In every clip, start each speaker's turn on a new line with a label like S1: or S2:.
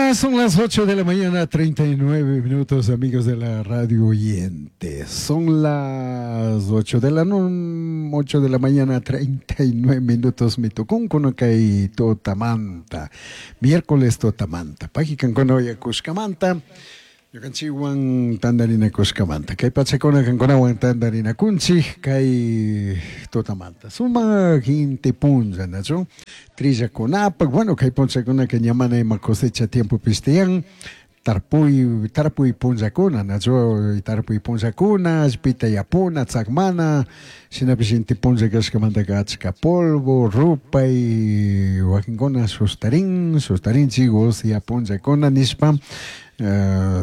S1: Ya son las 8 de la mañana, 39 minutos, amigos de la radio oyente. Son las 8 de la, 8 de la mañana, 39 minutos. Mitucuncuno kay tutamanta. Miércoles tutamanta. Pajicancuna yakushkamanta. Ñukanchikwan tantarinakushkamanta. Kay pachakuna kankunawan tantarinakunchik kay tutamanta. Sumak inti punlla, nachu? Trillakunapak, bueno, kay punllakunaka ña mana ima cosecha tiempopish tiyan. Tarpuy, tarpuy punllakuna, nachu? Tarpuy punllakuna, allpita yapuna, tzakmana, shinapish inti punlla kashkamantaka achka polvo, rupay, wakinkuna sustarin, sustarinchik usya punllakuna nishpa,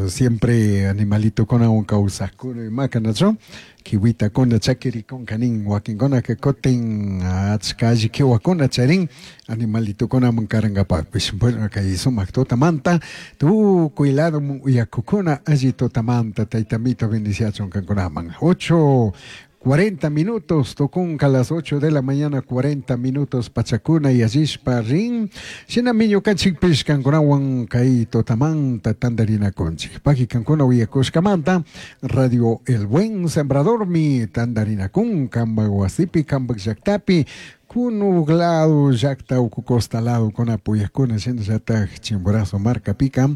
S1: siempre animalitokunawan kawsakuna imaka, nachu? Kiwitakuna chakirikunka nin, wakinkunaka kutin achka alli kiwakuna charin animalitokunaman karankapakpish. Bueno, kay sumak tutamanta, tukuy ladoman uyakukuna alli tutamanta, Tayta Amito bendiciachun kankunaman. 8:40 minutos, tukunka las 8 de la mañana, 40 minutos, pachakuna yallishpa rin. Shinami ñukanchikpish kankunawan kay tutamanta tantarinakunchik. Paki kankuna uyakushkamanta, Radio El Buen Sembradormi tantarinakun, kanpak wasipi, kanpak llaktapi, Kunuk lado, llakta uku costa lado, kunapi uyakuna, shinallatak Chimborazo markapika,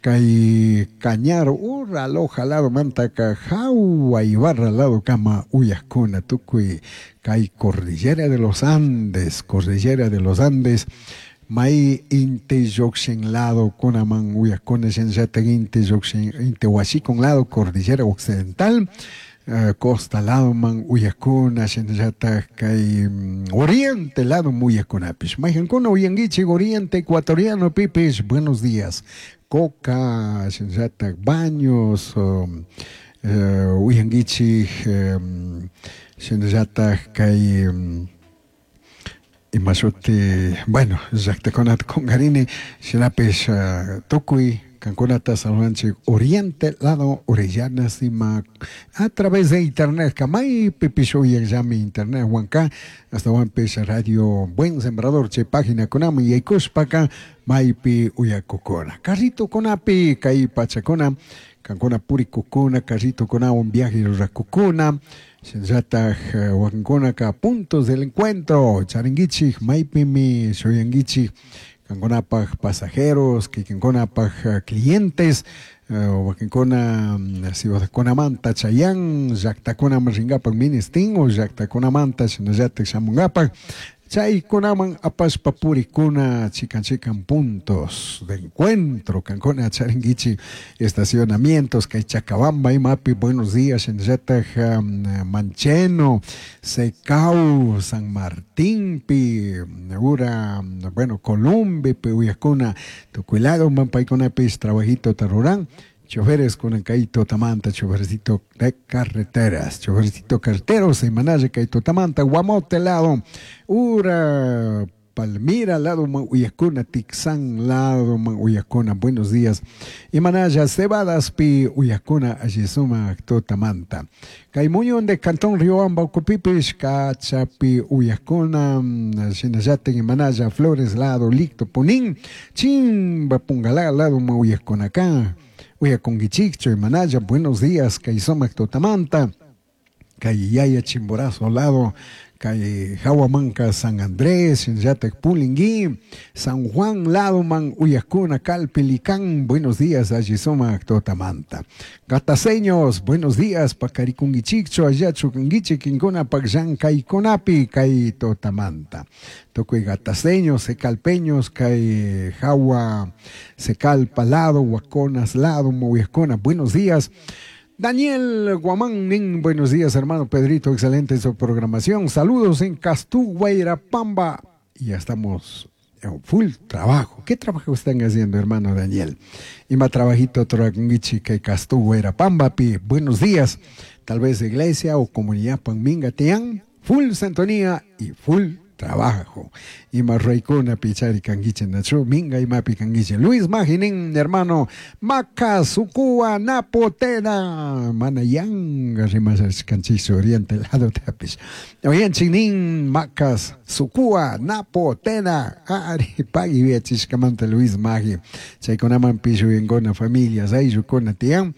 S1: kay Cañar ura Loja lado mantaka Jaua Ibarra lado kama uyakuna, tukuy kay Cordillera de los Andes, Cordillera de los Andes, may inti llukshin lado kunaman uyakuna, shinallatak inti llukshin, inti washikun lado, Cordillera Occidental, costa ladoman uyakuna, shinallatak kay oriente lado uyakunapish. Mayqankuna uyankichik oriente ecuatoriano pipish, buenos días. Coca, shinallatak Baños, uyankichik, shinallatak kay imashuti, bueno, llaktakunata kunkarini, shinapish tukuy kankunata saludanchik oriente lado Orellana sima a través de internet, maypipish uyanllami internet wanka, astawanpish Radio Buen Sembrador chay página kunaman yaykushpaka maypi uyakukuna. Carritokunapi kay pachakuna, kankuna purikukuna, carritokunawan viaje rurakukuna, shinallatak wakinkunaka puntos del encuentro, charinkichik, maypimi shuyankichik, kankunapaj pasajeros, kikinkunapaj clientes, wakinkuna ciudadkunamanta chayan, llaktakunaman rinkapak ministin o llaktakunamanta shinallatak shamunkapak, chaykunaman apashpa purikuna chikan chikan puntos de encuentro, kankuna charinkichik estacionamientos, kay Chacabamba imapi, buenos días, shinallatak Mancheno, Secau, San Martín pi, ura, bueno, Columbe pi uyakuna, tukuy lado paykunapis trabajito ruran, choferes con el kay tutamanta, chofercito de carreteras, chofercito carteros, imanalla kay tutamanta, Guamote lado, ura, Palmira lado uyakuna, Tixán lado uyakuna, buenos días. Imanalla, Cebadas pi uyakuna, allisuma tutamanta. Kay Muñón de Cantón Riobamba, Ucupipish, Cachapi uyakuna, shinallatik imanalla, Flores lado, Licto Punín, Chimba Pungalá lado uyakuna acá. Uyakunkichikchu, imanalla, buenos días, kay sumak tutamanta, kay Yaya Chimborazo lado, kay Jahuamanca San Andrés, shinallatak Pulingui, San Juan lado man uyakuna, Calpilicán, buenos días, allisuma tutamanta. Gataseños, buenos días, pakarikunkichikchu, allachu kankichik, kinkuna pakllankaykunapi, kay tutamanta. Tukuy gataseños, secalpeños, kay Jahua, Secalpa lado, Huaconas lado, uyakuna, buenos días. Daniel Guamán Nin, buenos días, hermano Pedrito, excelente su programación. Saludos en Castú, Guairapamba. Y ya estamos en full trabajo. ¿Qué trabajo están haciendo, hermano Daniel? Ima trabajito tragungichi que Castú, Guairapamba, pi. Buenos días. Tal vez iglesia o comunidad Panminga tian. Full sintonía y full Trabajo. Ima ruraykuna pichari kankichik nachu minga imapi kankichik. Luis Maginin hermano Maca Sucua Napotena mana yanga rimashashkanchikchu oriente lado tapish. Oyanchik nin Macas Sucua Napotena ari pagui yuyachishkamanta Luis Magi. Chaykunamanpish uyankuna familias ayllukuna tiyan.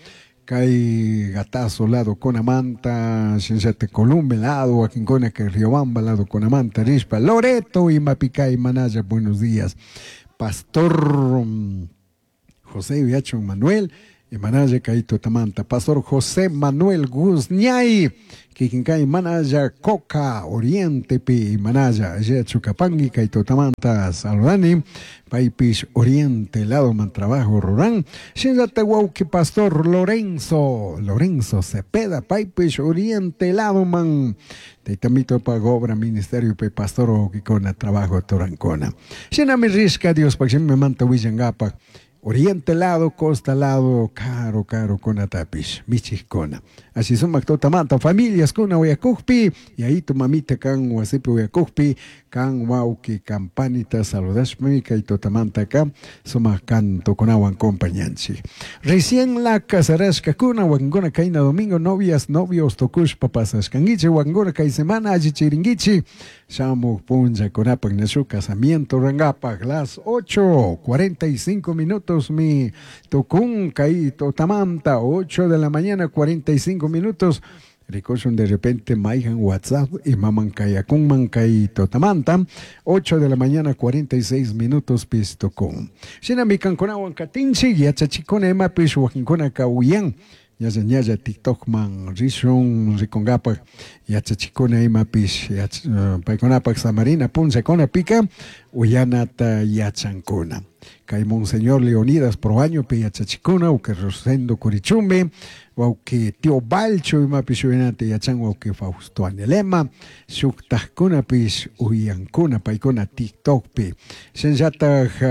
S1: Kay Gatazo lado kunamanta, shinllata Columbe lado, wakinkuna kay Riobamba lado kunamanta rishpa, Loreto imapikay manalla, buenos días. Pastor José Yachun Manuel, imanalla kay tutamanta. Pastor José Manuel Guzñay, kikinkay manalla Coca Orientepi manalla Chucapangi kay tutamanta saludani, paypish Oriente lado man trabajo ruran, shinllata wawki Pastor Lorenzo, Lorenzo Cepeda, paypish Oriente lado man, taytamito pa obra ministerio pe pastor wawkikuna trabajo turankuna. Shinami rishka Diospak shimimanta willankapak, Oriente lado, costa lado, caro, caro, kunatapish, michijkuna. Así sumak tutamanta, familias kuna uyakukpi, y ahí tu mamita kan wasipi uyakukpi, kan wawki kampanita saludashmi, kay tutamanta ka, sumak cantokunawan compañanchik. Recién la casarashkakuna, wakinkuna kayna domingo, novias, novios tukushpa pasashkankichik, wakinkuna kay semana allichirinkichik, shamuk punllakunapak nashu casamiento rangapak, las 8:45 minutos mi tukun kay tutamanta, 8 de la mañana 45 minutos. Rikushun de repente mayhan WhatsApp y maman kayakunman kay tutamanta, 8 de la mañana 46 minutos pistukun. Shinami kankunawan katinchik yachachikuna imapish wakinkuna kawuyan. Ñalla ñalla TikTok man rishun rikungapak yachachikuna imapish paykunapak samarina punllakuna pika uyanata yachankuna. Kay Monseñor Leonidas Proaño pe yachachikuna uke Rosendo Curichumbe wawki Tío Balcho imapish uyanata yachan wawki Fausto Anelema shuktajkunapish uyankuna paykuna TikTokpi. Shinllataj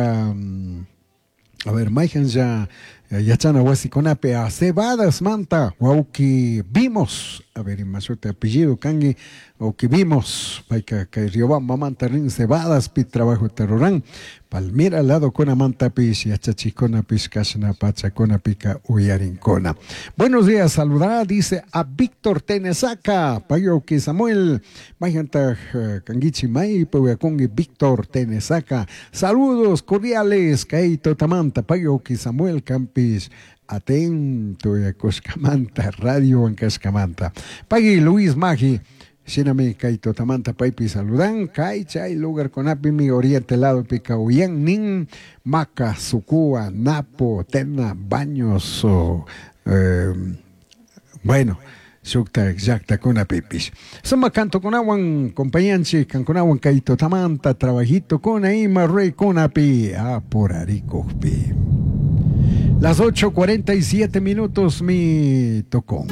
S1: a ver, mayhan yachana wasikunapi a cebadas manta wawki vimos, a ver, imasuta apellido kanki wawki vimos, payka kay Riobamba manta rin cebadas pi trabajo terroran, Palmira lado kuna manta pis yachachikuna pis kashna pachakuna pika uyarinkuna. Buenos días, saludará, dice a Víctor Tenesaca, payawki Samuel, mayhantaj kankichi may puyakunki Víctor Tenesaca. Saludos cordiales, kay tutamanta, payawki Samuel Campis, atento yakushkamanta, radio ankashkamanta. Pagui Luis Magi, shinami kay tutamanta paypi saludan, kay chay lugar kunapi mi oriente lado pika uyan nin, Maca, Sucúa, Napo, Tena, Baños, bueno, shukta llaktakunapipish. Sumak cantokunawan compañanchik kankunawan kay tutamanta trabajito kuna ima ruraykunapi apurarikukpi. Las 8:47 minutos mi tocó.